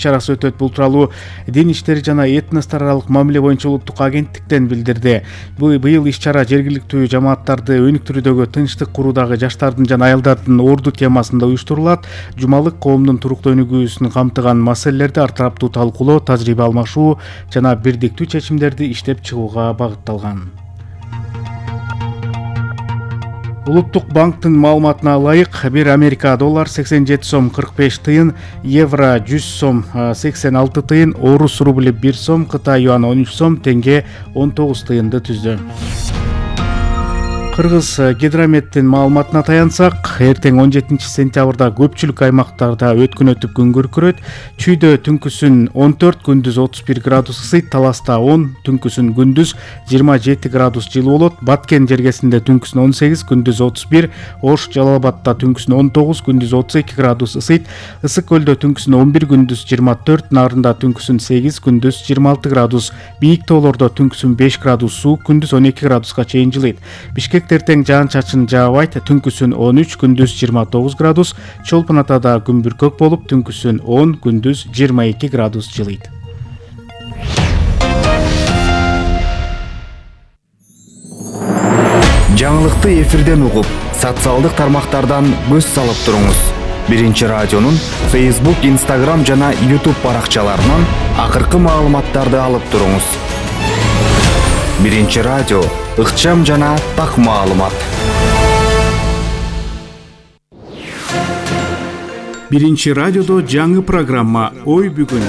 иш-чарасы өтөт. Бул тууралуу Дин иштери жана этностор аралык мамиле боюнча улуттук агенттиктен билдирди. Быйыл иш-чара жергиликтүү жамааттарды өнүктүрүүдөгү тынчтык куруудагы жаштардын жана аялдардын орду темасында уюштурулат. Жумалык коомдун туруктуу өнүгүүсүн камтыган маселелерди ар тараптуу талкуулоо, тажрыйба алмашуу жана бирдиктүү чечимдерди иштеп чыгууга багытталган. Улуттук банктын маалыматына ылайык, бир Америка доллар 87 сом 45 тыйын, евро 100 сом 86 тыйын, орус рубли 1 сом, Кытай юаны 13 сом, тенге 19 тыйынды түздү. Кыргыз гидрометтин маалыматына таянсак, эртең 17 сентябрда көпчүлүк аймактарда өткүнөтүп күн күркүрөт. Чүйдө түнкүсүн 14, күндүз 31 градус ысыйт, Таласта 10, түнкүсүн күндүз 27 градус жылуу болот. Баткен жергесинде түнкүсүн 18, күндүз 31, Ош Жалал Абадта түнкүсүн 19, күндүз 32 градус ысыйт. Ысык көлдө түнкүсүн 11, күндүз 24, Нарында түнкүсүн 8, күндүз 26 градус. Бийик тоолордо түнкүсүн 5 градус суук, күндүз 12 градуска чейин жылыйт. Бишкек эртең жаан-чачын жаабайт, түнкүсүн 13, күндүз 29 градус. Чолпон Атада күн бүркөк болуп, түнкүсүн 10, күндүз 22 градус жылыйт. Жаңылыкты эфирден угуп, социалдык тармактардан көз салып туруңуз. Биринчи радионун Facebook, Instagram жана YouTube баракчаларынан акыркы маалыматтарды алып туруңуз. Биринчи радио, ыкчам жана так маалымат. Биринчи радиодо жаңы программа «Ой бүгүн».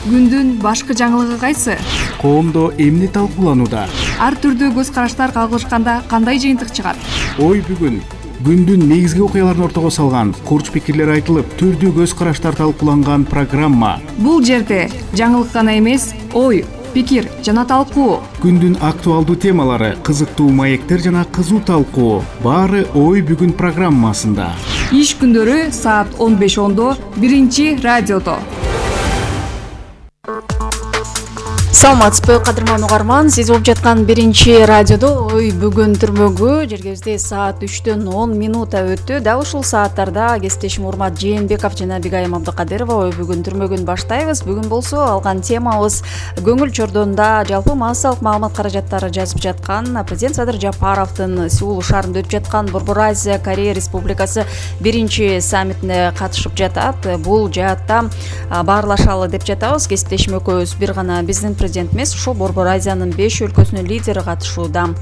Күндүн башкы жаңылыгы кайсы? Коомдо эмне талкууланууда? Ар түрдүү көз караштар кагылышканда кандай жыйынтык чыгат? Ой бүгүн. Күндүн негизги окуяларын ортого салган, курч пикирлер айтылып, түрдүү көз караштар талкууланган программа. Бул жерде жаңылык гана эмес, ой, пикир жана талкуу. Күндүн актуалдуу темалары, кызыктуу маектер жана кызуу талкуу. Баары Ой бүгүн программасында. Иш күндөрү саат 15:10 биринчи радиодо. Саламатсызбы, кадырман угарман, сиз угуп жаткан биринчи радиодо Ой бүгүн түрмөгү. Жергебизде саат 3-төн 10 минута өттү. Дал ушул сааттарда кесиптешим Урмат Жээнбеков жана Бигайым Абдыкадырова Ой бүгүн түрмөгүн баштайбыз. Бүгүн болсо алган темабыз көңүл чордонунда жалпы массалык маалымат каражаттары жазып жаткан президент Садыр Жапаровдун Сеул шаарында өтүп жаткан Борбор Азия Корея Республикасы биринчи саммитине катышып жатат. Бул жаатта баарлашалы деп жатабыз. Кесиптешим экөөбүз бир гана биздин президент эмес, ошол Борбор Азиянын 5 өлкөсүнүн лидери катышууда.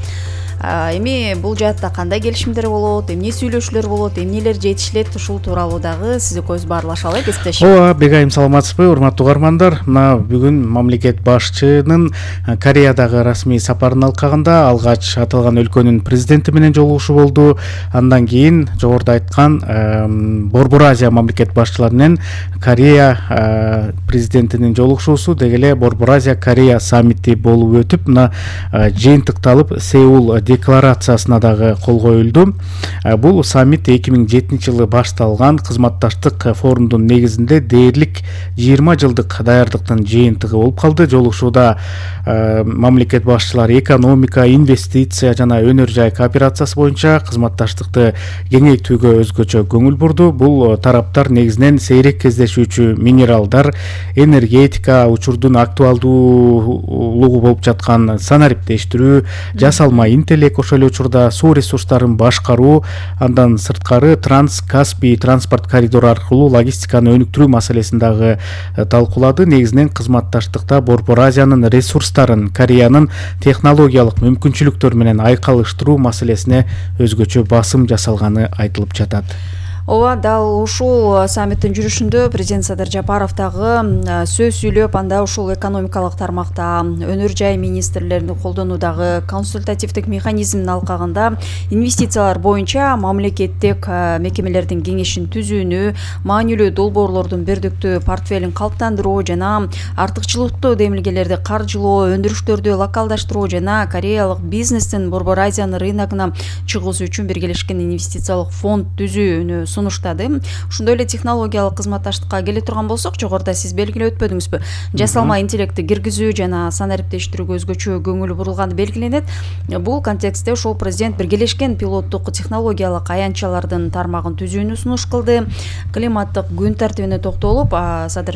Эми бул жаатта кандай келишимдер болот, эмне сүйлөшүүлөр болот, эмнелер жетишилет, ушул тууралуу дагы сиз экөөбүз баарлашалы, кесиптешим. Ооба, Бегайым, саламатсызбы, урматтуу угармандар. Мына бүгүн мамлекет башчынын Кореядагы расмий сапарын алкагында алгач аталган өлкөнүн президенти менен жолугушуу болду. Андан кийин жогоруда айткан Борбор Азия мамлекет башчылары менен Корея президентинин жолугушуусу деги эле Борбор Азия Корея саммити болуп өтүп, мына жыйынтыкталып Сеул декларациясына дагы кол коюлду. Бул саммит 2007 жылы башталган кызматташтык форумдун негизинде дээрлик 20 жылдык даярдыктын жыйынтыгы болуп калды. Жолугушууда мамлекет башчылары экономика, инвестиция жана өнөр жай кооперациясы боюнча кызматташтыкты кеңейтүүгө өзгөчө көңүл бурду. Бул тараптар негизинен сейрек кездешүүчү минералдар, энергетика, учурдун актуалдуулугу болуп жаткан санариптештирүү, жасалма интеллект, ошол эле учурда суу ресурстарын башкаруу, андан сырткары Транс-Каспий транспорт коридору аркылуу логистиканы өнүктүрүү маселесин дагы талкуулады. Негизинен кызматташтыкта Борбор Азиянын ресурстарын Кореянын технологиялык мүмкүнчүлүктөрү менен айкалыштыруу маселесине өзгөчө басым жасалганы айтылып жатат. Ооба, дал ушул саммиттин жүрүшүндө президент Садыр Жапаров дагы сөз сүйлөп, анда ушул экономикалык тармакта өнөр жай министрлеринин колдонуудагы консультативдик механизмин алкагында инвестициялар боюнча мамлекеттик мекемелердин кеңешин түзүүнү, маанилүү долбоорлордун бирдиктүү портфелин калыптандыруу жана артыкчылыктуу демилгелерди каржылоо, өндүрүштөрдү локалдаштыруу жана кореялык бизнестин Борбор Азиянын рыногуна чыгуусу үчүн биргелешкен инвестициялык фонд түзүүнү сунуштады. Ошондой эле технологиялык кызматташтыкка келе турган болсок, жогоруда сиз белгилеп өтпөдүңүзбү? Жасалма интеллектти киргизүү жана санариптештирүүгө өзгөчө көңүл бурулганы белгиленет. Бул контекстте ошол президент биргелешкен пилоттук технологиялык аянтчалардын тармагын түзүүнү сунуш кылды. Климаттык күн тартибине токтолуп, Садыр